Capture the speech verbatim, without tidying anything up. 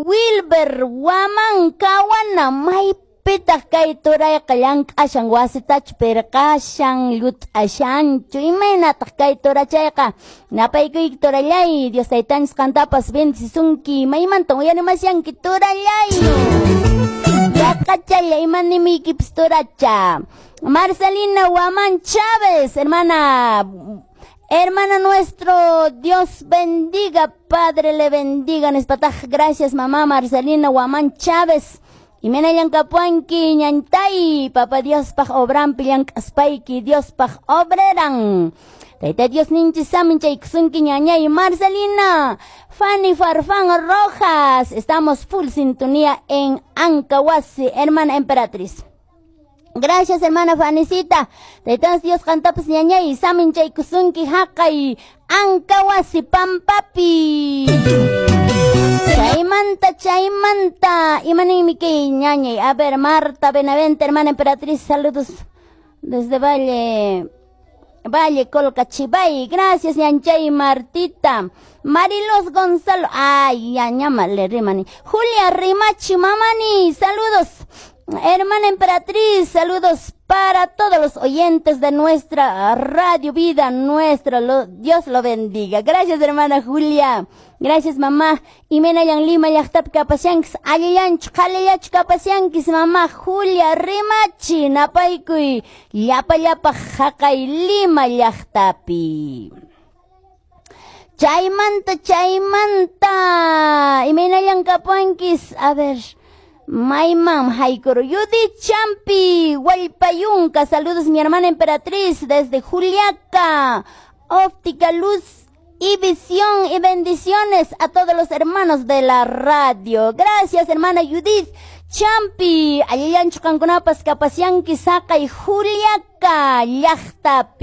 Wilber Waman Kawana maypitaq kay turayqa llank'ashan wasitachu pirqashan llut'ashanchu imaynataq kay turachayqa napaykuyki turallay Dios taytanchis qantapas bendicisunki maymantan uyarimashanki turallay yaqachalla imanimiykipis turacha. Marcelina Guamán Chávez, hermana, hermana nuestro, Dios bendiga, Padre le bendiga, nispataj, gracias mamá Marcelina Guamán Chávez. Y llank'apuanki ñantay, papá Dios paj obrampi llank'aspayki, Dios paj obreran. Tayta Dios ninchis samin chaykusunki ñañay Marcelina, Fanny Farfán Rojas, estamos full sintonía en Ancahuasi, hermana emperatriz. Gracias, hermana Fanicita. Tayta Dios qantapas ñañay samin chaykusunki haqay Ancahuasi pampapi. Chaymanta, chaymanta. Imaninmi kay ñañay. A ver, Marta Benavente, hermana emperatriz, saludos desde Valle. Valle Colcachibay. Gracias, ñanchay Martita. Marilos Gonzalo. Ay, ya ñamale rimani. Julia Rimachi Mamani, saludos. Hermana emperatriz, saludos para todos los oyentes de nuestra Radio Vida Nuestra. Lo, Dios lo bendiga. Gracias, hermana Julia. Gracias, mamá. Imaynallan Lima llaqtapi kapashankis, allillanchu, qhalillachu kapashankis, mamá Julia Rimachi, napaykuy, llapa llapa haqay Lima llaqtapi. Chaymanta, chaymanta. Imaynallan kapuankis, a ver. Maymam haykuru Judith Champi, Hualpayunca, saludos mi hermana emperatriz desde Juliaca, Óptica Luz y Visión y bendiciones a todos los hermanos de la radio. Gracias hermana Judith Champi, allillanchu qankunapas kapashanki saqay Juliaca llaqtapi.